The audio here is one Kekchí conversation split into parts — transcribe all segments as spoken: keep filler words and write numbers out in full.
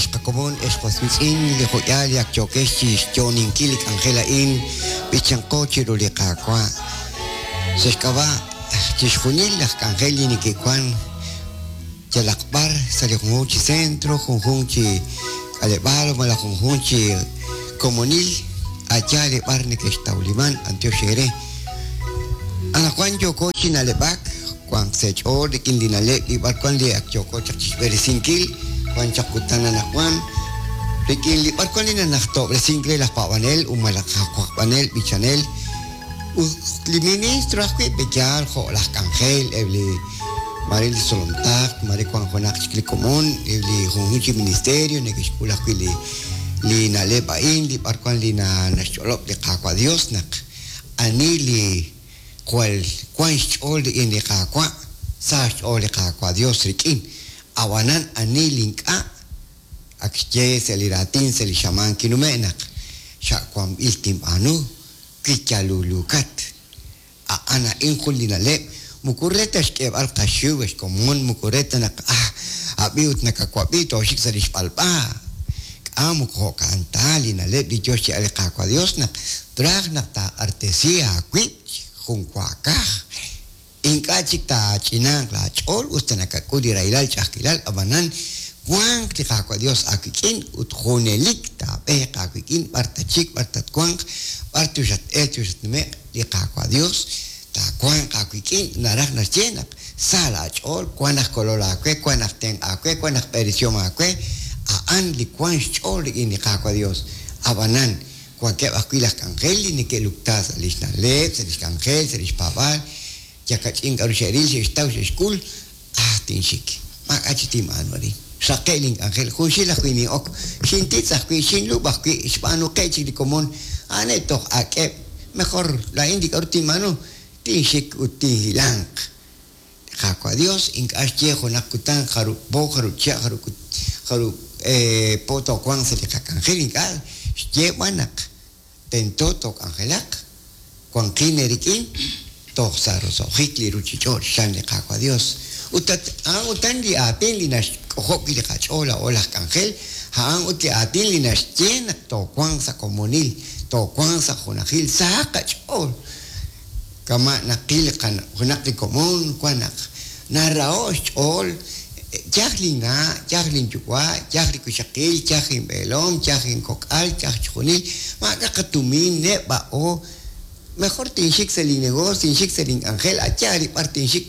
Ex qakomon, ex qoswitz'in, li jo'yaal li ak yookex chi xyo'oninkil li k'anjel a'in, b'ichanqo chiru li Qaawa'. Sa' xk'ab'a' chixjunil laj k'anjel li neke'wan yalaq b'ar sa' li junjunq chi centro, junjunq chi k'aleb'aal malaj junjunq chi komonil, a'yaal li b'ar neke'xtawliman b'antiox eere. Anaqwan yooko chi na'leb'ak, wanq sa' ch'ool rik'in li na'leb' li b'ar wan li ak yooko chaq chixb'eresinkil, wan chaq kutan anaqwan, rik'in li b'ar wan li nanajtob'resink re laj paab'anel ut malaj aj wajb'anel b'ichanel, ut li ministro ajwi' peyaal jo' laj k'anjel, eb' li mare li solomtaq, mare wan junaq chik li komon, eb' li junjunq chi ministerio neke'xk'ul ajwi' li li na'leb' a'in, li b'ar wan li naxch'olob' li Qaawa' Dios naq ani li jwal wan xch'ool rik'in li Qaawa', sa xch'ool li Qaawa' Dios rik'in, ab'anan ani li ink'a' ak xye sa' li raatin sa' li xamaan kinume' naq xa'wanb'il tinb'aanu wi yalulukat. A'an a'in jun li na'leb' moko re ta xk'eeb'al qaxiw ex komon, moko re ta naq ah ab'i ut nakawab'i tooxik sa' li xb'alb'a. K'a moko jo'kan ta li na'leb' li yo xye'al li Qaawa' Dios naq traj naq taaq'artesi aawib' jun waakaj. Ink'a' chik taach'inaaq laach'ool us ta nakak'ul li rahilal ch'a'ajkilal, ab'anan wanq li Qaawa' Dios aawik'in ut junelik taab'eeq aawik'in b'ar tachik, b'ar tatwanq, b'ar tuxat-el tuxatnume'q li Qaawa' Dios taawanq aawik'in naraj naxye naq sa laach'ool wan aj kolol aawe, wan aj tenq' aawe, wan aj b'eresihom aawe, a'an li wan xch'ool rik'in li Qaawa' Dios. Ab'anan wankeb' ajwi' laj k'anjel li neke'lukta sa' lix na'leb', sa' lix k'anjel, sa' lix paab'aal, yakach'in k'aru xe'ril, xe'xtaw, xe'xk'ul, ah tinxik, maak'a' chi tinb'aanu arin. Xraqe' link'anjel, junxil ajwi' nin'ok, xintitz' ajwi', xinlub' ajwi', xb'aanuqe' chik li komon, a'aneb' toj ak'eb', mejor laa'in li k'aru tinb'aanu, tinxik ut tinhilanq. Qaawa' Dios ink'a' xye junaq kutan jarub' po, jarub' chihab', jarub' jarub' po toowanq sa' li qak'anjel, ink'a' xye b'an naq tento took'anjelaq, wanqin eerik'in toj sa' roso'jik li ruchich'och' xchan li Qaawa' Dios. Ut a'an utan li aatin li naxk'ojob' wi' li qach'ool laa'o laj k'anjel, a'an ut li aatin li naxye naq toowanq sa' komonil, toowanq sa' junajil, sahaq qach'ool. Kama' naqil junaq li komon wan naq naraho' xch'ool, yaj linna', yaj linyuwa', yaj li wixaqil, yaj inb'eelom, yaj inkok'al, yaj chixjunil, maak'a' qatumin, neb'a'o, mejor tinxik sa' li negocio, tinxik sa' link'anjel, a'yaal li b'ar tinxik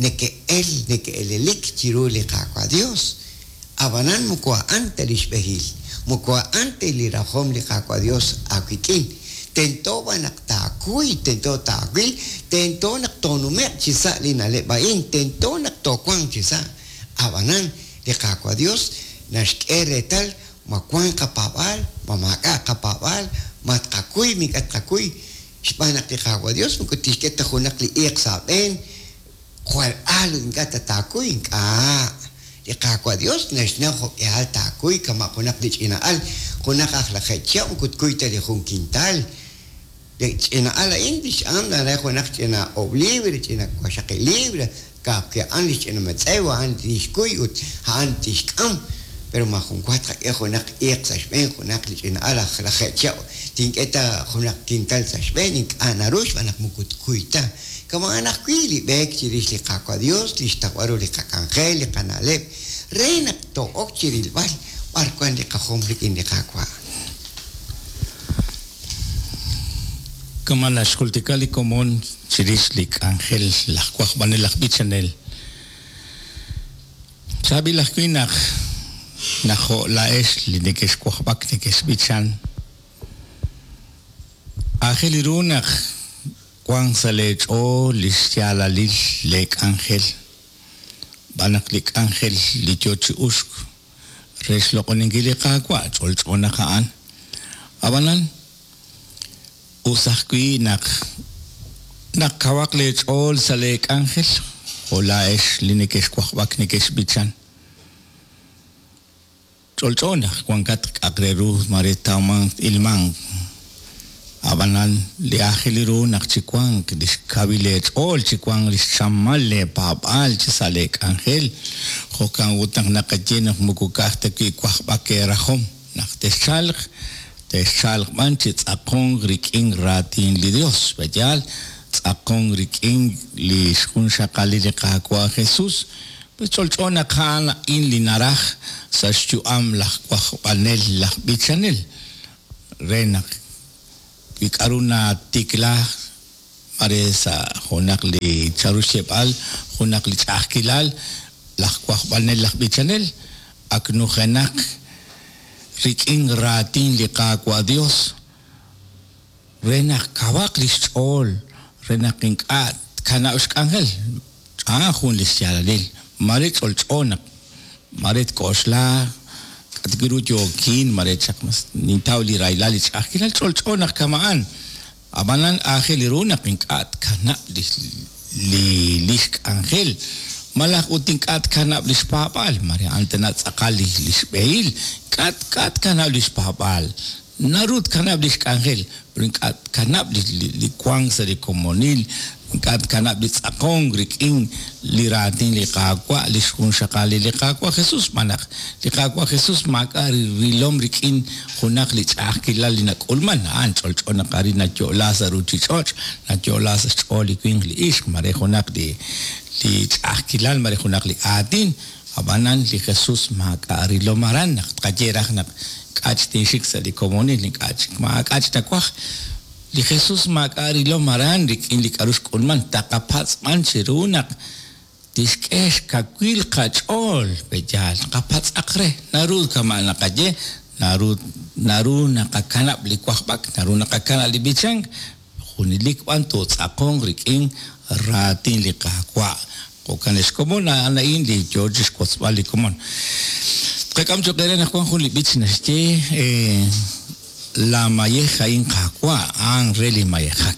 neke'el, neke'elelik chiru li Qaawa' Dios. Ab'anan moko a'an ta li xb'ehil, moko a'an ta li rajom li Qaawa' Dios aawik'in. Tento b'an naq taakuy, tento taawil, tento naq toonume'q chi sa' li na'leb' a'in, tento naq toowanq chi sa'. Ab'anan li Qaawa' Dios naxk'e reetal ma wanq qapaab'aal, ma maak'a' qapaab'aal, ma tqakuy, mink'a' tqakuy. Xb'aan naq li Qaawa' Dios moko tixk'e ta junaq li iiq sa' aab'een, jwal aal ut ink'a' ta taakuy, ink'a'. Li Qaawa' Dios naxnaw jo'k'ihal taakuy kama' junaq li ch'ina'al, junaq aj lajeeb' chihab' moko tkuy ta li jun kintal. Li ch'ina'al a'in tix'am re junaq ch'ina oob' libre, ch'ina waqxaqib' libre, ka'ajwi' a'an li xch'ina metz'ew, a'an tixkuy ut a'an tixk'am. Pero ma jun wa tqak'e junaq iiq sa' xb'een junaq li ch'ina'al aj lajeeb' chihab' tink'e ta junaq kintal sa' xb'een, ink'a' naru xb'aan naq moko tkuy ta. Kama'an ajwi' li b'eek chirix li Qaawa' Dios, li xtawb'al ru li qak'anjel, li qana'leb', re naq too'ok chirilb'al b'ar wan li qajom rik'in li Qaawa'. Kama naxjultika li komon chirix li k'anjel laj wajb'anel laj b'ichanel. Chaab'il ajwi' naq naq jo' laa'ex li neke'xwajb'ak neke'xb'ichan. Aajel ru naq wanq sa' leech'ool li xyaalalil le k'anjel. B'an naq li k'anjel li yo chi uxk re xloq'oninkil li Qaawa' ch'olch'o naq a'an. Ab'anan us ajwi' naq naq kawaq leech'ool sa' leek'anjel jo' laa'ex li neke'xwajb'ak neke'xb'ichan. Ch'olch'o naq wankat k'aq re ru mare tawmanq ilmanq. Ab'anan li aajel ru naq chi wanq li xkawil eech'ool, chi wanq li xchamal leepaab'aal chi sa' leek'anjel. Jo'kan ut naq naqaye naq moko ka'aj ta wi' wajb'ak eerajom naq texchalq, texchalq b'an chi tz'aqonk rik'in raatin li Dios. Pe'yaal tz'aqonk rik'in li xjunxaqalil li Qaawa' Jesús. Pues ch'olch'o naq a'an a'in li naraj sa' xyu'am laj wajb'anel, laj b'ichanel, re naq wi k'aru natikla mare sa' junaq li charu xyeb'al, junaq li ch'a'ajkilal, laj wajb'anel, laj b'ichanel ak nujenaq rik'in raatin li Qaawa' Dios re naq kawaq li xch'ool, re naq ink'a' tkanab' xk'anjel. A'an jun li xyaalalil. Mare ch'olch'o naq mare tk'oxla k'atwiru yookin, mare chaq mas nintaw li rahilal li ch'a'ajkilal, ch'olch'o naq kama'an. Ab'anan aajel ru naq ink'a' tkanab' li li li xk'anjel, malaj ut ink'a' tkanab' li xpaab'aal, mare a'an tana tz'aqal li li xb'ehil, ink'a' ink'a' tkanab' li xpaab'aal. Naru tkanab' li xk'anjel, pero ink'a' tkanab' li li li wank sa' li komonil, ink'a' tkanab' li tz'aqonk rik'in li raatin li Qaawa', li xjunxaqalil li Qaawa' Jesús. Xb'aan naq li Qaawa' Jesús maak'a' rilom rik'in junaq li ch'a'ajkilal li nak'ulman. A'an ch'olch'o naq arin nayo'la sa' ruuchich'och', nayo'la sa' xch'ool li winq li ixq, mare junaq li li ch'a'ajkilal, mare junaq li aatin. Ab'anan li Jesús maak'a' rilom aran naq tqaye raj naq k'ach tinxik sa' li komonil, ink'a' chik maak'a' tawaj. Li Jesús maak'a' rilom aran rik'in li k'aru xk'ulman, taqapatz' b'an chiru naq tixk'e xkawil qach'ool, pe'yaal qapatz'aq re. Naru kama' naqaye, naru naru naqakanab' li wajb'ak, naru naqakanab' li b'ichank, junelik b'an tootz'aqonq rik'in raatin li Qaawa'. Jo'kan ex komon, a'an a'in li yoo chi xwotzb'al li komon. Qak'am choq' eere naq wan jun li b'ich naxye la mayej a'in Qaawa', a'an re li mayejak.